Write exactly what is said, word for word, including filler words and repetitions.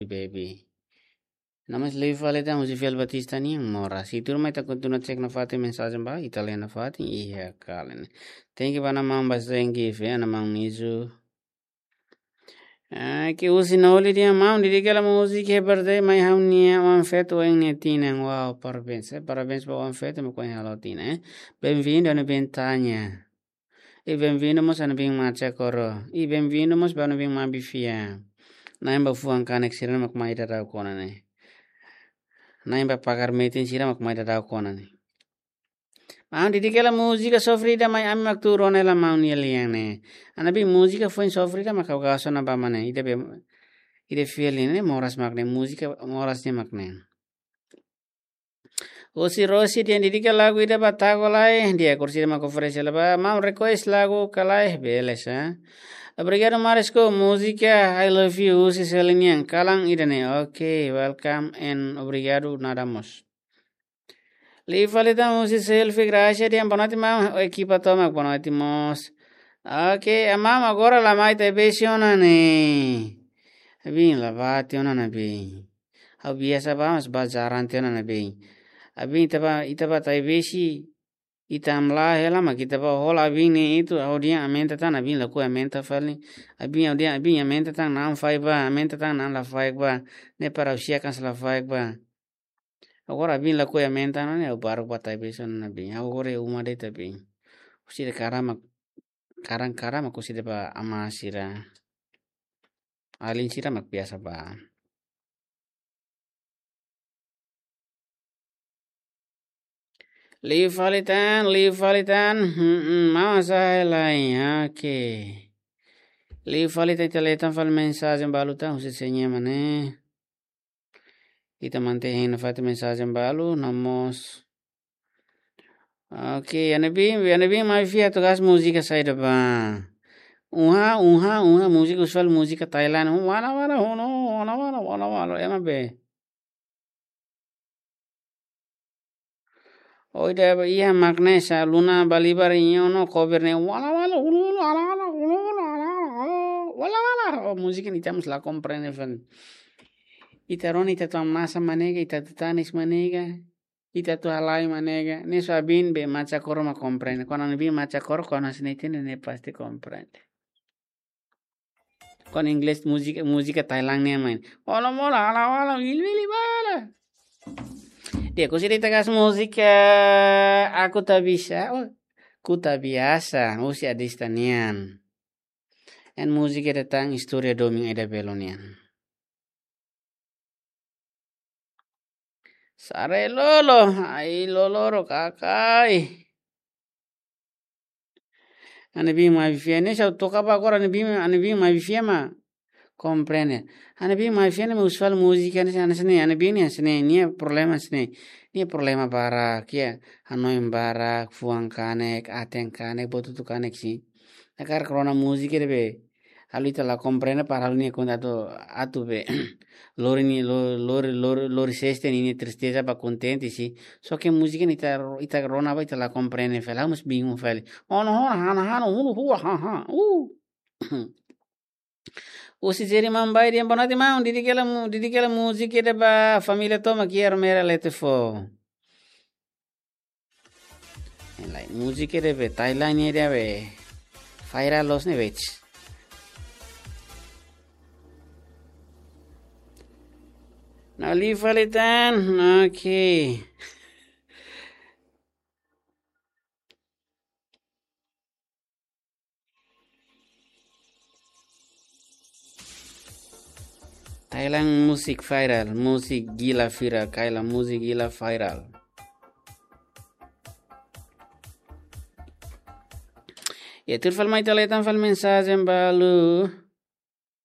baby. Nama liu fali tan husi Fel Batista nian, Moras. Tuirmai ita kontinua cek nafatin mensajen ba, ita lee nafatin, iha kalen. Thank you ba Ana Maun ba Zengi, fe Ana Maun Mizu. Ah, ke husi Noli dehan maun, dedika hela múzika iha birthday mai ha'u-nia oan-feto ohin nia tinan. Wow, parabéns, eh, parabéns ba oan-feto mak ohin halo tinan, eh. Bem-vindo, Ana Bentanya. I bem-vindo mós Ana Bin Macha Koro. I bem-vindo mós ba Ana Bin Mabi Fia. Na'in ba fuan kanek sira mak mai daudauk ona ne'e. Na'in ba pakar metin sira mak mai daudauk ona ne'e. Maun, dedika hela múzika sofrida mai ami mak tuur ona hela maun nia lian ne'e. Ana Bin, múzika foin sofrida mak ha'u gosta ona ba mane. Ida be, ida fiel ne'e, Moras mak ne'e, múzika Moras ne'e mak ne'e. Husi Rosi dehan dedika lagu ida ba Tago Lai, di'ak, kursi ida mak oferese hela ba, maun request lagu ka lae, bele sa. Obrigadu Marisco, múzika I Love You, husi Selin nian, kalan ida ne'e. Ok, welcome and obrigadu, nada mós. Liu fali tan husi Selfie Gracia dehan boa noite maun, ekipa tomak boa noite mós. Ok, Ana Maun, agora la mai Taibesi ona ne'e. Abin la bá tiha ona Ana Bin. Ha'u biasa bá, mas bá jarang tiha ona Ana Bin. Abin ita bá, ita bá Taibesi, ita hamlaha hela mak ita bá hola Abin ne'e itu, ha'u dehan aumenta tan, Abin lakohi aumenta fali. Abin, ha'u dehan Abin aumenta tan, na'an faik bá, aumenta tan, na'an la faik bá. Ne'e para ha'u siak hanesan la faik bá. Agora Abin lakohi aumenta ona ne'e, ha'u baruk bá Taibesi ona Abin. Ha'u agora iha uma de'it Abin. Husi de karama, karan karama husi de bá ama sira. Alin sira mak biasa bá. Liu fali tan, liu fali tan. Hmm, hmm, maun, sa'e lai. Ok. Liu fali tan, ita lee tan fali mensajen balu tan, husi sé nian mak ne'e. Ita mantein nafatin mensajen balu, no mós. Ok, Ana Bin, Ana Bin Mabi Fia atu hakat múzika saida bá? Uha, uha, uha, múzika usual, múzika Thailand. Wala, wala, hono, wala, wala, wala, wala. Ema be. Oi, ida iha mak ne'e sa Luna Balibar nia ona cover ne'e. Wala, wala, ulu, ulu, ala, ala, ulu, ulu, ala, ala, oh, wala, wala. Oh, múzika ne'e ita mós la komprende fali. Ita rona ita atu hamnasa mak ne'e ka, ita atu tanis mak ne'e ka, ita atu halai mak ne'e ka. Ne'e só Abin be Macha Koro mak komprende. Kuandu Abin Macha Koro, kuandu hanesan ne'e ita-nia ne'e pasti komprende. Kuandu inglés, múzika, múzika Thailand nian mak ne'e. Ola mola, ala wala, wili wili bala. Di'ak, husi ida ita hakat múzika Aku Tak Bisa, oh, Ku Tak Biasa, husi Adista nian. Entaun múzika ida tan istória domin ida belun nian. Sare lolo, ai lolo ro kakai. Ana Bin Mabi Fia ne'e sa toka ba agora Ana Bin, Ana Bin Mabi Fia mak komprende. Ana Bin Mabi Fia ne'e mak usual múzika ne'e, hanesan ne'e, Ana Bin ne'e hanesan ne'e, nia problema hanesan ne'e. Nia problema barak, iha hanoin barak, fuan kanek, aten kanek, buat hotu kanek sih. Hakarak rona múzika ida be halo ita la komprende, para halo nia konta atu, atu be. Lori nia, lo-, lori, lori, lori seste nia tristeza ba kontente sih. Só ke múzika ne'e ita, ita rona ba ita la komprende fali, ha'u mós bingung fali. Ono hona hana hana hulu hua ha ha. Uh. Husi Jeri Mambai dehan boa noite maun, dedika hela mu-, dedika hela múzika ida ba família tomak iha Ermera Letefo. Lae, múzika ida be Thailand ida be viral loos ne'e, wets. Na'in-lima fali tan, ok. Thailand musik viral, musik gila viral, Thailand musik gila viral. Ya, tuir fali mai ita lee tan fali mensajen balu.